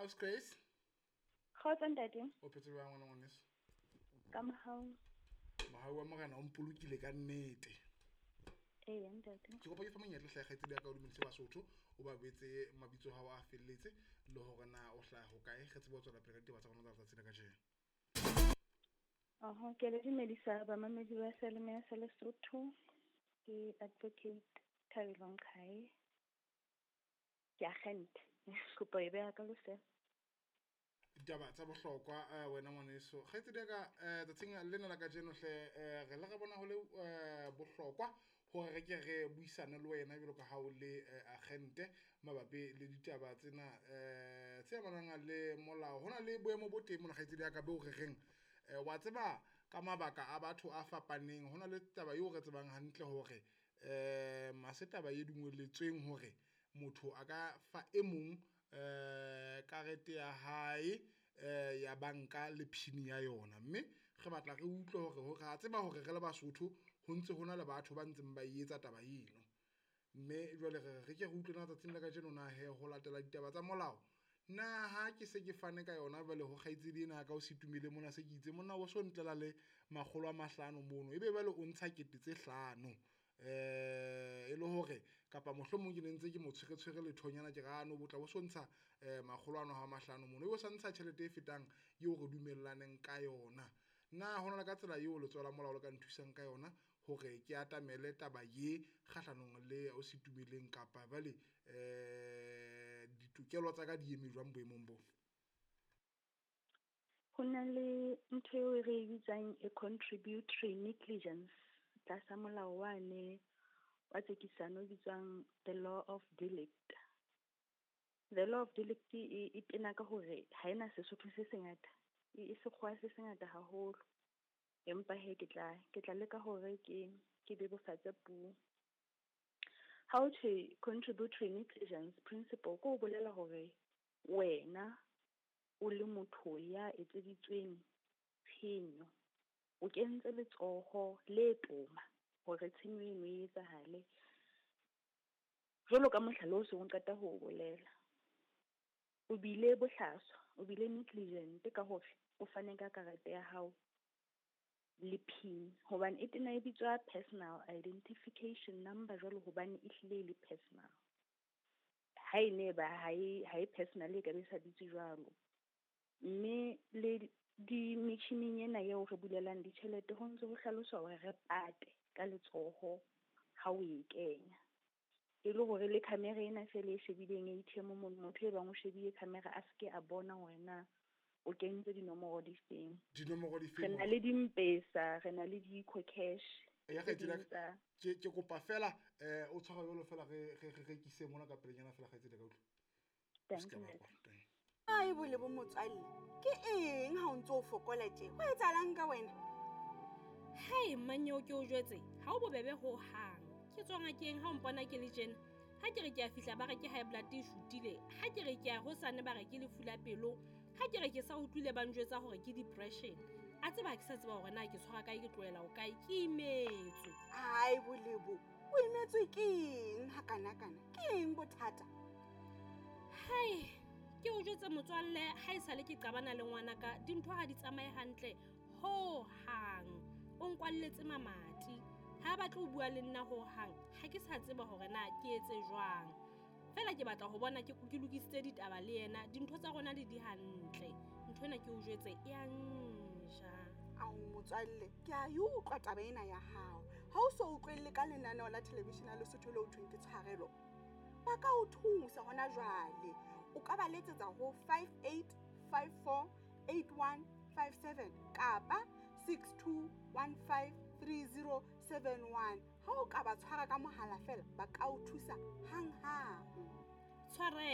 Aus Grace. Kgotso ntate. O phetse jwang ngwana ngwaneso? Ka mohau. Mohau wa Morena o mpolokile ka nnete. Ee ntate. Ke kopa ke fa monyetla hle kgaitsedi ya ka o dumedise Basotho, o ba betse mabitso a hao a felletse le hore na o hlaha hokae, re tsebe ho tswela pele ka ditaba tsa rona tsa letsatsi la kajeno. Oho, ke le dumedisa bamamedi ba Seyalemoya sa Lesotho. Ke Advocate Thabelo Nqhae. Ke agente. Kopo e beha ka losea. Ditaba tsa bohlokwa eh, wena ngwaneso kgaitsedi ya ka eh, tsatsing lena la kajeno hle eh, re le re bona ho le eh, bohlokwa hore re ke re buisane le wena jwalo ka ha o le eh, agente mabapi le ditaba tsena eh, tse amanang le molao. Ho na le boemo bo teng mona kgaitsedi ya ka beo re reng eh, wa tseba ka mabaka a batho a fapaneng. Ho na le taba eo re tsebang hantle hore um ha se taba e dumelletsweng hore motho a ka fa e mong um karete ya hae um ya banka le PIN ya yona. Mme re batla re utlwe hore re a tseba hore re le Basotho ho ntse ho na le batho ba ntseng ba e etsa taba eno. Mme jwale re re re ke re utlwe na tsatsing la kajeno na he ho latela ditaba tsa molao, na ha ke se ke fane ka yona jwale ho kgaitsedi ena ya ka o se tumile mona, se ke itse monna o so ntlela le 500 mono, ebe jwale o ntsha 5000 e le hore kapa mohlomong ke ne ntse ke mo tshwere tshwere lethonyana ke re ano botla bo so ntsha 500 mono, ebe o sa ntsha tjhelete e fetang eo re dumellaneng ka yona. Na hona le ka tsela eo letsoho la molao le ka nthusang ka yona hore ke atamele taba ye kgahlanong le o se tumeleng, kapa jwale ditokelo tsa ka di eme jwang boemong bo? Ho na le ntho eo re e bitsang a contributory negligence tlasa molao wane wa tsekisano o bitswang the law of delict. The law of delict e tena ka hore ha ena Sesotho se sengata, e sekgowa se sengata haholo. Empa he ke tla leka hore ke bebofatse puo. Ha o thwe contributory negligence principle, ke ho bolela hore wena o le motho ya etseditsweng tshenyo, o kentse letsoho le toma hore tshenyo eno e etsahale. Jwalo ka mohlala o seng o qeta ho o bolela, o bile bohlaswa, o bile negligent ka hore o fane ka karete ya hao le PIN, hobane e tena e bitswa personal identification number jwalo hobane e hlile e le personal. Ha e ne ba ha e personal e ka be sa bitswe jwalo. Mme le di metjhining ena eo re bulelang ditjhelete ho ntse ho hlaloswa hore re pate ka letsoho ha o e kenya. E le hore le camera ena fela e shebileng ATM mono, motho e bang o shebile camera a seke a bona hore na o kentse dinomoro di feng. Dinomoro di feng? Re na le di-M-Pesa, re na le di-EcoCash. Ya kgaitsedi ke kopa fela o tshwara jwalo fela re rekise mona ka pelenyana fela kgaitsedi ka utlwa. Thank you. Ai bole bo motswalle, ke eng ha o ntse o fokola tje? Ho etsahalang ka wena? Hei mmanyeo ke o jwetse, ha o bobebe ho hang. Ke tswa ngakeng ha o mpona ke le tjena. Ha ke re ke a fihla ba re ke high blood e shutile, ha ke re ke a hosane ba re ke lefu la pelo, ha ke re ke sa utlwile ba njwetsa hore ke depression. A tseba ha ke sa tseba hore na ke tshwara kae, ke tlohela ho kae, ke imetswe. Ai bolebo, o imetswe ke eng hakanakana? Ke eng bothata? Hai, ke o jwetse motswalle, ha e sale ke qabana le ngwanaka, dintho ha di tsamaye hantle ho hang. O nkwalletse mamati, ha batle ho bua le nna ho hang, ha ke sa tseba hore na ke etse jwang. Fela ke batla ho bona ke lokisitse ditaba le yena, dintho tsa rona di di hantle. Ntho ena ke o jwetse e a nja. Ao motswalle, ke a e utlwa taba ena ya hao. Ha o so utlwelle ka lenaneo la television la Lesotho leo thweng ke Tshwarelo, ba ka o thusa hona jwale. O ka ba letsetsa ho 58548157 kapa 62153071. Ha o ka ba tshwara ka mohala fela, ba ka o thusa hanghang. Tshwarelo.